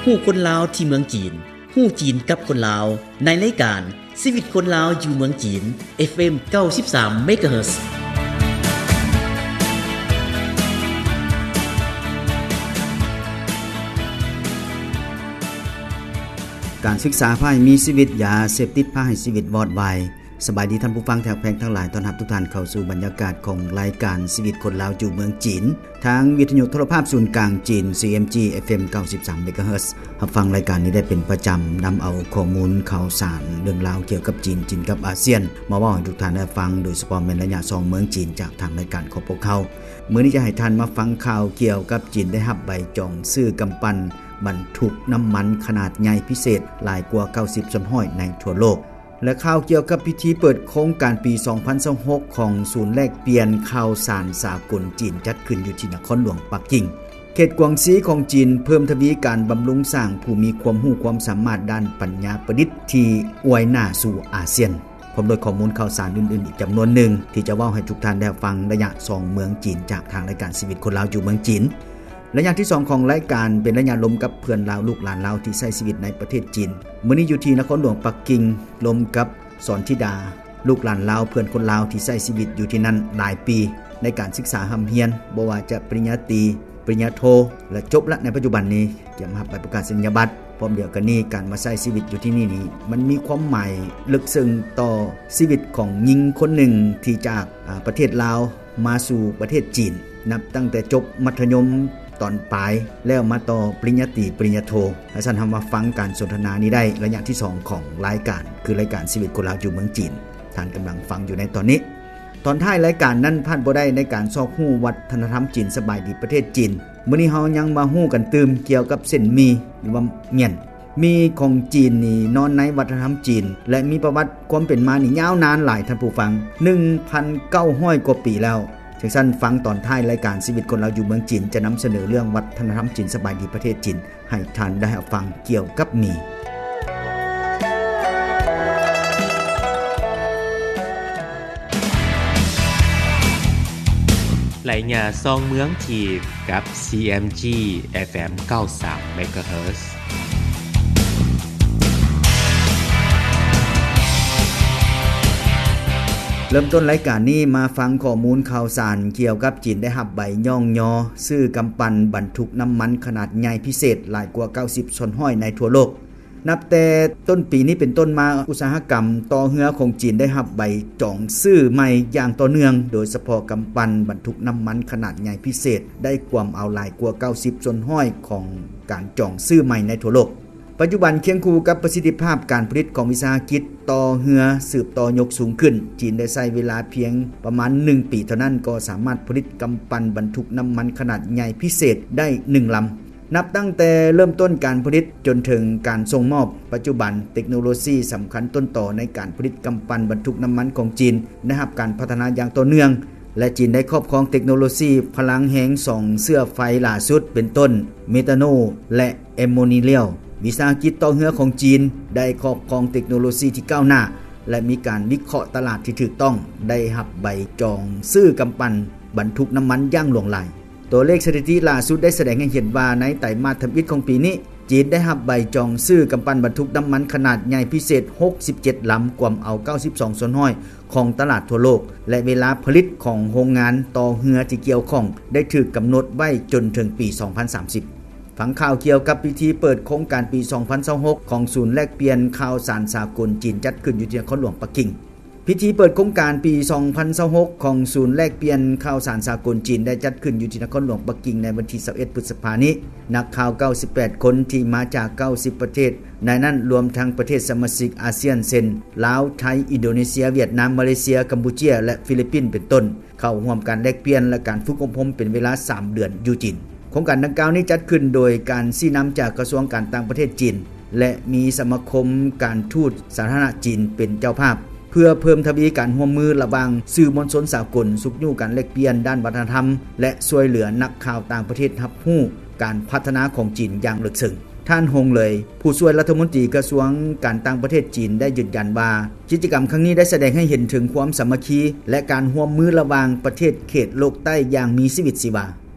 ຮູ້ຄົນລາວທີ່ເມືອງຈີນ, ຮູ້ຈີນກັບຄົນລາວ ໃນລາຍການ ຊີວິດຄົນລາວຢູ່ເມືອງຈີນ ເອັຟເອັມ ເກົ້າສິບສາມ ເມກາເຮີດ. ການສຶກສາພາໃຫ້ມີຊີວິດ, ຢາເສບຕິດພາໃຫ້ຊີວິດວອດວາຍ. ສະບາຍດີທ່ານຜູ້ຟັງທີ່ຮັກແພງທັງຫຼາຍ, ຕ້ອນຮັບທຸກທ່ານເຂົ້າສູ່ບັນຍາກາດຂອງລາຍການຊີວິດຄົນລາວຢູ່ເມືອງຈີນ ທາງວິທະຍຸໂທລະພາບສູນກາງຈີນ ຊີເອັມຈີ ເອັຟເອັມ ເກົ້າສິບສາມ ເມກາເຮີດ. ຮັບຟັງລາຍການນີ້ໄດ້ເປັນປະຈຳ, ນຳເອົາຂໍ້ມູນຂ່າວສານເລື່ອງລາວກ່ຽວກັບຈີນ, ຈີນກັບອາຊຽນ ມາເວົ້າໃຫ້ທຸກທ່ານໄດ້ຟັງ, ໂດຍສະເພາະແມ່ນໄລຍະສອງເມືອງຈີນຈາກທາງລາຍການຂອງພວກເຮົາ. ມື້ນີ້ຈະໃຫ້ທ່ານມາຟັງຂ່າວກ່ຽວກັບຈີນໄດ້ຮັບໃບຈອງຊື້ກຳປັ່ນບັນທຸກນ້ຳມັນຂະໜາດໃຫຍ່ພິເສດຫຼາຍກວ່າເກົ້າສິບສ່ວນຮ້ອຍໃນທົ່ວໂລກ. ແລະ ຂ່າວກ່ຽວກັບພິທີເປີດໂຄງການປີສອງພັນຊາວຫົກຂອງສູນແລກປ່ຽນຂ່າວສານສາກົນຈີນ ຈັດຂຶ້ນຢູ່ທີ່ນະຄອນຫຼວງປັກກິ່ງ. ເຂດກວາງຊີຂອງຈີນເພີ່ມທະວີການບຳລຸງສ້າງຜູ້ມີຄວາມຮູ້ຄວາມສາມາດດ້ານປັນຍາປະດິດທີ່ອວຍໜ້າສູ່ອາຊຽນ, ພ້ອມດ້ວຍຂໍ້ມູນຂ່າວສານອື່ນໆອີກຈຳນວນໜຶ່ງ ທີ່ຈະເວົ້າໃຫ້ທຸກທ່ານໄດ້ຮັບຟັງໄລຍະສອງເມືອງຈີນ ຈາກທາງລາຍການຊີວິດຄົນລາວຢູ່ເມືອງຈີນ. ໄລຍະທີສອງຂອງລາຍການເປັນໄລຍະລົມກັບເພື່ອນລາວ, ລູກຫຼານລາວທີ່ໃຊ້ຊີວິດໃນປະເທດຈີນ. ມື້ນີ້ຢູ່ທີ່ນະຄອນຫຼວງປັກກິ່ງ ລົມກັບສອນທິດາ, ລູກຫຼານລາວ, ເພື່ອນຄົນລາວທີ່ໃຊ້ຊີວິດຢູ່ທີ່ນັ້ນຫຼາຍປີ ໃນການສຶກສາຮ່ຳຮຽນ, ບໍ່ວ່າຈະປະລິນຍາຕີ, ປະລິນຍາໂທ ແລະ ຈົບລະໃນປັດຈຸບັນນີ້, ກຽມຮັບໃບປະກາດນິຍະບັດ. ພ້ອມດຽວກັນນີ້, ການມາໃຊ້ຊີວິດຢູ່ທີ່ນີ້ນີ້ ມັນມີຄວາມໝາຍເລິກເຊິ່ງຕໍ່ຊີວິດຂອງຍິງຄົນໜຶ່ງທີ່ຈາກ ອາ ປະເທດລາວ ມາສູ່ປະເທດຈີນ ນັບຕັ້ງແຕ່ຈົບມັດທະຍົມຕອນປາຍ ແລ້ວມາຕໍ່ປະລິນຍາຕີ, ປະລິນຍາໂທ. ຖ້າຊັ້ນ ເຮົາມາຟັງການສົນທະນານີ້ໄດ້ ໄລຍະທີສອງຂອງລາຍການ ຄືລາຍການຊີວິດຄົນລາວຢູ່ເມືອງຈີນ ທ່ານກຳລັງຟັງຢູ່ໃນຕອນນີ້. ຕອນທ້າຍລາຍການນັ້ນພາດບໍ່ໄດ້ໃນການຊອກຮູ້ວັດທະນະທຳຈີນ. ສະບາຍດີປະເທດຈີນ. ມື້ນີ້ເຮົາຍັງມາຮູ້ກັນຕື່ມກ່ຽວກັບເສັ້ນໝີ່ ຫຼືວ່າໝຽນ. ໝີ່ຂອງຈີນນີ້ນອນໃນວັດທະນະທຳຈີນ ແລະ ມີປະຫວັດຄວາມເປັນມານີ້ຍາວນານຫຼາຍ, ທ່ານຜູ້ຟັງ, ໜຶ່ງພັນເກົ້າຮ້ອຍກວ່າປີແລ້ວ. ຈັ່ງຊັ້ນ, ຟັງຕອນທ້າຍລາຍການຊີວິດຄົນລາວຢູ່ເມືອງຈີນ ຈະນຳສະເໜີເລື່ອງວັດທະນະທຳຈີນ. ສະບາຍດີປະເທດຈີນ. ໃຫ້ທ່ານໄດ້ຮັບຟັງກ່ຽວກັບໝີ່. ໄລຍະສອງເມືອງຈີນ ກັບ ຊີເອັມຈີ ເອັຟເອັມ ເກົ້າສິບສາມ ເມກາເຮີດ. ເລີ່ມຕົ້ນລາຍການນີ້ ມາຟັງຂໍ້ມູນຂ່າວສານກ່ຽວກັບຈີນໄດ້ຮັບໃບຍ້ອງຍໍ ຊື້ກຳປັ່ນບັນທຸກນ້ຳມັນຂະໜາດໃຫຍ່ພິເສດຫຼາຍກວ່າເກົ້າສິບສ່ວນຮ້ອຍໃນທົ່ວໂລກ. ນັບແຕ່ຕົ້ນປີນີ້ເປັນຕົ້ນມາ, ອຸດສາຫະກຳຕໍ່ເຮືອຂອງຈີນໄດ້ຮັບໃບຈອງຊື້ໃໝ່ຢ່າງຕໍ່ເນື່ອງ, ໂດຍສະເພາະກຳປັ່ນບັນທຸກນ້ຳມັນຂະໜາດໃຫຍ່ພິເສດ ໄດ້ກວມເອົາຫຼາຍກວ່າເກົ້າສິບສ່ວນຮ້ອຍຂອງການຈອງຊື້ໃໝ່ໃນທົ່ວໂລກ. ປັດຈຸບັນ, ຄຽງຄູ່ກັບປະສິດທິພາບການຜະລິດຂອງວິສາຫະກິດຕໍ່ເຮືອສືບຕໍ່ຍົກສູງຂຶ້ນ, ຈີນໄດ້ໃຊ້ເວລາພຽງປະມານໜຶ່ງປີເທົ່ານັ້ນ ກໍສາມາດຜະລິດກຳປັ່ນບັນທຸກນ້ຳມັນຂະໜາດໃຫຍ່ພິເສດໄດ້ໜຶ່ງລຳ. ນັບຕັ້ງແຕ່ເລີ່ມຕົ້ນການຜະລິດຈົນເຖິງການສົ່ງມອບ, ປັດຈຸບັນເຕັກໂນໂລຊີສຳຄັນຕົ້ນຕໍໃນການຜະລິດກຳປັ່ນບັນທຸກນ້ຳມັນຂອງຈີນໄດ້ຮັບການພັດທະນາຢ່າງຕໍ່ເນື່ອງ ແລະ ຈີນໄດ້ຄອບຄອງເຕັກໂນໂລຊີພະລັງແຮງສອງເຊື້ອໄຟຫຼ້າສຸດ ເປັນຕົ້ນ ເມທາໂນ ແລະ ແອມໂມນີເລຍວ. ວິສາຫະກິດຕໍ່ເຮືອຂອງຈີນໄດ້ຄອບຄອງເຕັກໂນໂລຊີທີ່ກ້າວໜ້າ ແລະ ມີການວິເຄາະຕະຫຼາດທີ່ຖືກຕ້ອງ, ໄດ້ຮັບໃບຈອງຊື້ກຳປັ່ນບັນທຸກນ້ຳມັນຢ່າງຫຼວງຫຼາຍ. ຕົວເລກສະຖິຕິລ່າສຸດໄດ້ສະແດງໃຫ້ເຫັນວ່າ ໃນໄຕມາດທຳອິດຂອງປີນີ້, ຈີນໄດ້ຮັບໃບຈອງຊື້ກຳປັ່ນບັນທຸກນ້ຳມັນຂະໜາດໃຫຍ່ພິເສດຫົກສິບເຈັດລຳ, ກວມເອົາເກົ້າສິບສອງສ່ວນຮ້ອຍຂອງຕະຫຼາດທົ່ວໂລກ ແລະ ເວລາຜະລິດຂອງໂຮງງານຕໍ່ເຮືອທີ່ກ່ຽວຂ້ອງໄດ້ຖືກກຳນົດໄວ້ຈົນເຖິງປີສອງພັນສາມສິບ. ຟັງຂ່າວກ່ຽວກັບພິທີເປີດໂຄງການປີສອງພັນຊາວຫົກຂອງສູນແລກປ່ຽນຂ່າວສານສາກົນຈີນ ຈັດຂຶ້ນຢູ່ທີ່ນະຄອນຫຼວງປັກກິ່ງ. ພິທີເປີດໂຄງການປີສອງພັນຊາວຫົກຂອງສູນແລກປ່ຽນຂ່າວສານສາກົນຈີນ ໄດ້ຈັດຂຶ້ນຢູ່ທີ່ນະຄອນຫຼວງປັກກິ່ງໃນວັນທີຊາວເອັດ ພຶດສະພານີ້. ນັກຂ່າວເກົ້າສິບແປດຄົນທີ່ມາຈາກເກົ້າສິບປະເທດ, ໃນນັ້ນລວມທັງປະເທດສະມາຊິກອາຊຽນ ເຊັ່ນ ລາວ, ໄທ, ອິນໂດເນເຊຍ, ຫວຽດນາມ, ມາເລເຊຍ, ກຳປູເຈຍ ແລະ ຟີລິບປິນ ເປັນຕົ້ນ, ເຂົ້າຮ່ວມການແລກປ່ຽນ ແລະ ການຝຶກອົບຮົມເປັນເວລາສາມເດືອນຢູ່ຈີນ. ໂຄງການດັ່ງກ່າວນີ້ຈັດຂຶ້ນໂດຍການຊີ້ນຳຈາກກະຊວງການຕ່າງປະເທດຈີນ ແລະ ມີສະມາຄົມການທູດສາທາລະນະຈີນເປັນເຈົ້າພາບ, ເພື່ອເພີ່ມທະວີການຮ່ວມມືລະຫວ່າງສື່ມວນຊົນສາກົນ, ຊຸກຍູ້ການແລກປ່ຽນດ້ານວັດທະນະທຳ ແລະ ຊ່ວຍເຫຼືອນັກຂ່າວຕ່າງປະເທດຮັບຮູ້ການພັດທະນາຂອງຈີນຢ່າງເລິກເຊິ່ງ. ທ່ານ ຫົງ ເລີຍ, ຜູ້ຊ່ວຍລັດຖະມົນຕີກະຊວງການຕ່າງປະເທດຈີນ ໄດ້ຢືນຢັນວ່າ ກິດຈະກຳຄັ້ງນີ້ໄດ້ສະແດງໃຫ້ເຫັນເຖິງຄວາມສາມັກຄີ ແລະ ການຮ່ວມມືລະຫວ່າງປະເທດເຂດໂລກໃຕ້ຢ່າງມີຊີວິດຊີວາ.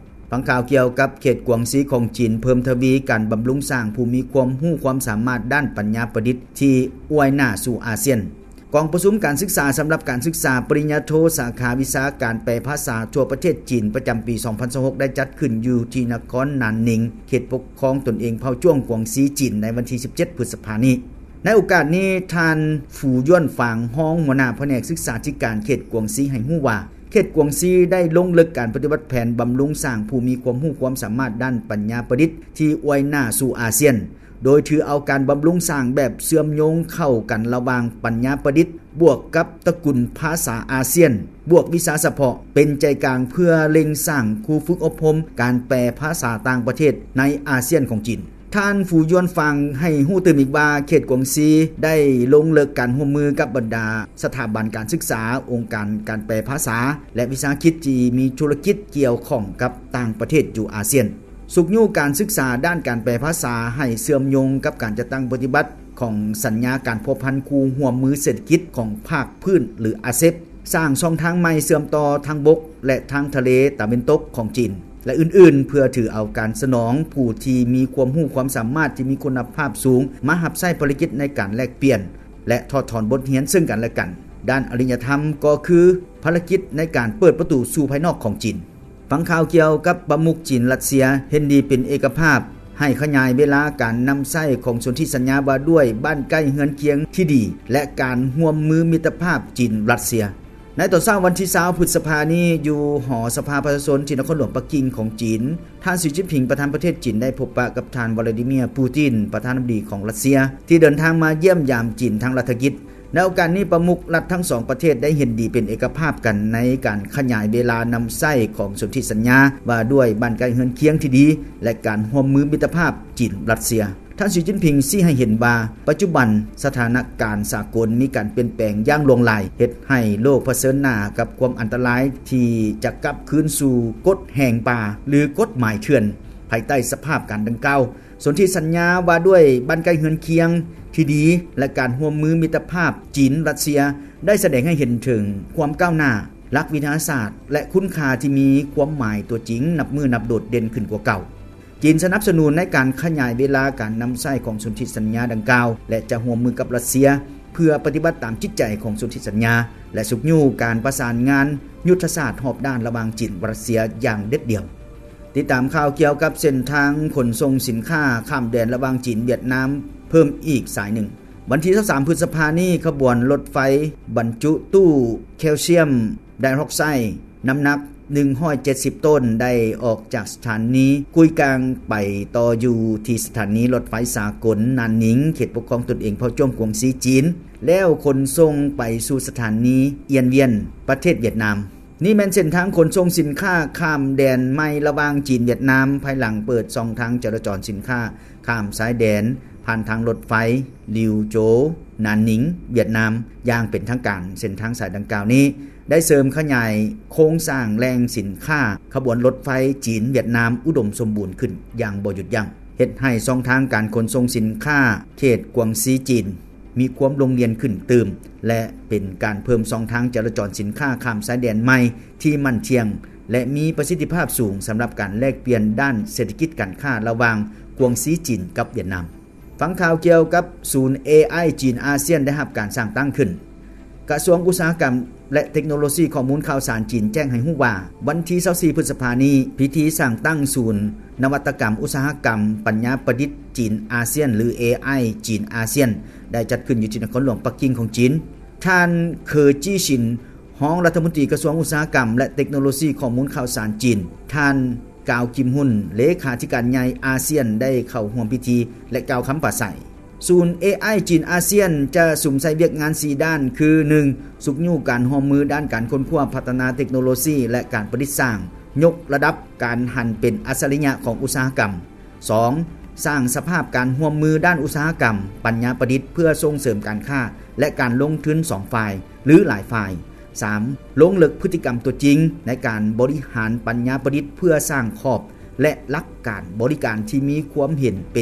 ຟັງຂ່າວກ່ຽວກັບເຂດກວາງຊີຂອງຈີນ ເພີ່ມທະວີການບຳລຸງສ້າງຜູ້ມີຄວາມຮູ້ຄວາມສາມາດດ້ານປັນຍາປະດິດທີ່ອວຍໜ້າສູ່ອາຊຽນ. ກອງປະຊຸມການສຶກສາສຳລັບການສຶກສາປະລິນຍາໂທສາຂາວິຊາການແປພາສາທົ່ວປະເທດຈີນ ປະຈຳປີສອງພັນຊາວຫົກ ໄດ້ຈັດຂຶ້ນຢູ່ທີ່ນະຄອນໜານໜິງ ເຂດປົກຄອງຕົນເອງເຜົ່າຈ້ວງກວາງຊີ ຈີນ ໃນວັນທີສິບເຈັດ ພຶດສະພານີ້. ໃນໂອກາດນີ້ ທ່ານ ຟູຢວນຟາງ ຮອງຫົວໜ້າພະແນກສຶກສາທິການເຂດກວາງຊີ ໃຫ້ຮູ້ວ່າ ເຂດກວາງຊີໄດ້ລົງເລິກການປະຕິບັດແຜນບຳລຸງສ້າງຜູ້ມີຄວາມຮູ້ຄວາມສາມາດດ້ານປັນຍາປະດິດທີ່ອວຍໜ້າສູ່ອາຊຽນ, ໂດຍຖືເອົາການບຳລຸງສ້າງແບບເຊື່ອມໂຍງເຂົ້າກັນລະຫວ່າງປັນຍາປະດິດບວກກັບຕະກຸນພາສາອາຊຽນ ບວກວິຊາສະເພາະ ເປັນໃຈກາງເພື່ອເລັ່ງສ້າງຄູຝຶກອົບຮົມການແປພາສາຕ່າງປະເທດໃນອາຊຽນຂອງຈີນ. ທ່ານ ຟູຢວນຟາງ ໃຫ້ຮູ້ຕື່ມອີກວ່າ ເຂດກວາງຊີໄດ້ລົງເລິກການຮ່ວມມືກັບບັນດາສະຖາບັນການສຶກສາ, ອົງການການແປພາສາ ແລະ ວິສາຫະກິດທີ່ມີທຸລະກິດກ່ຽວຂ້ອງກັບຕ່າງປະເທດຢູ່ອາຊຽນ, ຊຸກຍູ້ການສຶກສາດ້ານການແປພາສາໃຫ້ເຊື່ອມໂຍງກັບການຈັດຕັ້ງປະຕິບັດຂອງສັນຍາການພົວພັນຄູ່ຮ່ວມມືເສດຖະກິດຂອງພາກພື້ນ ຫຼື ອາເຊັບ, ສ້າງຊ່ອງທາງໃໝ່ເຊື່ອມຕໍ່ທາງບົກ ແລະ ທາງທະເລຕາເວັນຕົກຂອງຈີນ ແລະ ອື່ນໆ ເພື່ອຖືເອົາການສະໜອງຜູ້ທີ່ມີຄວາມຮູ້ຄວາມສາມາດທີ່ມີຄຸນນະພາບສູງ ມາຮັບໃຊ້ພາລະກິດໃນການແລກປ່ຽນ ແລະ ຖອດຖອນບົດຮຽນເຊິ່ງກັນແລະກັນ. ດ້ານອະລິຍະທຳກໍຄືພາລະກິດໃນການເປີດປະຕູສູ່ພາຍນອກຂອງຈີນ. ຟັງຂ່າວກ່ຽວກັບປະມຸກຈີນ-ລັດເຊຍ ເຫັນດີເປັນເອກະພາບ ໃຫ້ຂະຫຍາຍເວລາການນຳໃຊ້ຂອງສົນທິສັນຍາວ່າດ້ວຍບ້ານໃກ້ເຮືອນຄຽງທີ່ດີ ແລະ ການຮ່ວມມືມິດຕະພາບຈີນ-ລັດເຊຍ. ໃນຕອນເຊົ້າວັນທີຊາວ ພຶດສະພານີ້ ຢູ່ຫໍສະພາປະຊາຊົນທີ່ນະຄອນຫຼວງປັກກິ່ງຂອງຈີນ, ທ່ານ ສີ ຈິ້ນຜິງ ປະທານປະເທດຈີນ ໄດ້ພົບປະກັບທ່ານ ວລາດີເມຍ ປູຕິນ ປະທານາທິບໍດີຂອງລັດເຊຍ ທີ່ເດີນທາງມາຢ້ຽມຢາມຈີນທາງລັດຖະກິດ. ໃນໂອກາດນີ້ ປະມຸກລັດທັງສອງປະເທດໄດ້ເຫັນດີເປັນເອກະພາບກັນໃນການຂະຫຍາຍເວລານຳໃຊ້ຂອງສົນທິສັນຍາວ່າດ້ວຍບ້ານໃກ້ເຮືອນຄຽງທີ່ດີ ແລະ ການຮ່ວມມືມິດຕະພາບຈີນ-ລັດເຊຍ. ທ່ານ ສີ ຈິ້ນຜິງ ຊີ້ໃຫ້ເຫັນວ່າ ປັດຈຸບັນສະຖານະການສາກົນມີການປ່ຽນແປງຢ່າງຫຼວງຫຼາຍ, ເຮັດໃຫ້ໂລກຜະເຊີນໜ້າກັບຄວາມອັນຕະລາຍທີ່ຈະກັບຄືນສູ່ກົດແຫ່ງປ່າ ຫຼື ກົດໝາຍເຖື່ອນ. ພາຍໃຕ້ສະພາບການດັ່ງກ່າວ, ສົນທິສັນຍາວ່າດ້ວຍບ້ານໃກ້ເຮືອນຄຽງທີ່ດີ ແລະ ການຮ່ວມມືມິດຕະພາບຈີນ-ລັດເຊຍ ໄດ້ສະແດງໃຫ້ເຫັນເຖິງຄວາມກ້າວໜ້າ, ຫຼັກວິທະຍາສາດ ແລະ ຄຸນຄ່າທີ່ມີຄວາມໝາຍຕົວຈິງນັບມື້ນັບໂດດເດັ່ນຂຶ້ນກວ່າເກົ່າ. ຈີນສະໜັບສະໜູນໃນການຂະຫຍາຍເວລາການນຳໃຊ້ຂອງສົນທິສັນຍາດັ່ງກ່າວ ແລະ ຈະຮ່ວມມືກັບລັດເຊຍ ເພື່ອປະຕິບັດຕາມຈິດໃຈຂອງສົນທິສັນຍາ ແລະ ຊຸກຍູ້ການປະສານງານຍຸດທະສາດຮອບດ້ານລະຫວ່າງຈີນ-ລັດເຊຍຢ່າງເດັດດ່ຽວ. ຕິດຕາມຂ່າວກ່ຽວກັບເສັ້ນທາງຂົນສົ່ງສິນຄ້າຂ້າມແດນລະຫວ່າງຈີນ-ຫວຽດນາມເພີ່ມອີກສາຍໜຶ່ງ. ວັນທີຊາວສາມ ພຶດສະພານີ້, ຂະບວນລົດໄຟບັນຈຸຕູ້ແຄວຊຽມໄດອອກໄຊ ນ້ຳໜັກໜຶ່ງຮ້ອຍເຈັດສິບໂຕນ ໄດ້ອອກຈາກສະຖານີກຸຍກາງ ໄປຕໍ່ຢູ່ທີ່ສະຖານີລົດໄຟສາກົນໜານໜິງ ເຂດປົກຄອງຕົນເອງເຜົ່າຈ້ວງກວາງຊີ ຈີນ ແລ້ວຂົນສົ່ງໄປສູ່ສະຖານີອຽນວຽນ ປະເທດຫວຽດນາມ. ນີ້ແມ່ນເສັ້ນທາງຂົນສົ່ງສິນຄ້າຂ້າມແດນໃໝ່ລະຫວ່າງຈີນ-ຫວຽດນາມ ພາຍຫຼັງເປີດຊ່ອງທາງຈະລາຈອນສິນຄ້າຂ້າມຊາຍແດນ ຜ່ານທາງລົດໄຟ ລິວໂຈ ໜານໜິງ ຫວຽດນາມ ຢ່າງເປັນທາງການ. ເສັ້ນທາງສາຍດັ່ງກ່າວນີ້ ໄດ້ເສີມຂະຫຍາຍໂຄງສ້າງແຫຼ່ງສິນຄ້າຂະບວນລົດໄຟຈີນ-ຫວຽດນາມ ອຸດົມສົມບູນຂຶ້ນຢ່າງບໍ່ຢຸດຢັ້ງ, ເຮັດໃຫ້ຊ່ອງທາງການຂົນສົ່ງສິນຄ້າເຂດກວາງຊີ ຈີນ ມີຄວາມໂລ່ງລ່ຽນຂຶ້ນຕື່ມ ແລະ ເປັນການເພີ່ມຊ່ອງທາງຈະລາຈອນສິນຄ້າຂ້າມຊາຍແດນໃໝ່ທີ່ໝັ້ນທ່ຽງ ແລະ ມີປະສິດທິພາບສູງ ສຳລັບການແລກປ່ຽນດ້ານເສດຖະກິດການຄ້າລະຫວ່າງກວາງຊີ ຈີນ ກັບຫວຽດນາມ. ຟັງຂ່າວກ່ຽວກັບສູນ ເອໄອ ຈີນອາຊຽນ ໄດ້ຮັບການສ້າງຕັ້ງຂຶ້ນ. ກະຊວງອຸດສາຫະກຳ ແລະ ເຕັກໂນໂລຊີຂໍ້ມູນຂ່າວສານຈີນແຈ້ງໃຫ້ຮູ້ວ່າ ວັນທີຊາວສີ່ ພຶດສະພານີ້ ພິທີສ້າງຕັ້ງສູນນະວັດຕະກຳອຸດສາຫະກຳປັນຍາປະດິດຈີນອາຊຽນ ຫຼື ເອໄອ ຈີນອາຊຽນ ໄດ້ຈັດຂຶ້ນຢູ່ທີ່ນະຄອນຫຼວງປັກກິ່ງຂອງຈີນ. ທ່ານ ເຄີ ຈີ້ຊິນ ຮອງລັດຖະມົນຕີກະຊວງອຸດສາຫະກຳ ແລະ ເຕັກໂນໂລຊີຂໍ້ມູນຂ່າວສານຈີນ, ທ່ານ ກາວ ກິມຮຸນ ເລຂາທິການໃຫຍ່ອາຊຽນ ໄດ້ເຂົ້າຮ່ວມພິທີ ແລະ ກ່າວຄຳປາໄສ. ສູນ ເອໄອ ຈີນອາຊຽນ ຈະສຸມໃສ່ວຽກງານສີ່ດ້ານ ຄື ໜຶ່ງ ຊຸກຍູ້ການຮ່ວມມືດ້ານການຄົ້ນຄວ້າພັດທະນາເຕັກໂນໂລຊີ ແລະ ການປະດິດສ້າງ, ຍົກລະດັບການຫັນເປັນອັດສະລິຍະຂອງອຸດສາຫະກຳ. ສອງ ສ້າງສະພາບການຮ່ວມມືດ້ານອຸດສາຫະກຳ, ປັນຍາປະດິດ ເພື່ອສົ່ງເສີມການຄ້າ ແລະ ການລົງທຶນສອງຝ່າຍ ຫຼື ຫຼາຍຝ່າຍ. ສາມ ລົງເລິກພຶດຕິກຳຕົວຈິງໃນການບໍລິຫານປັນຍາປະດິດ ເພື່ອສ້າງຂອບ ແລະ ຫຼັກການບໍລິການທີ່ມີຄວາມເຫັນເປັນ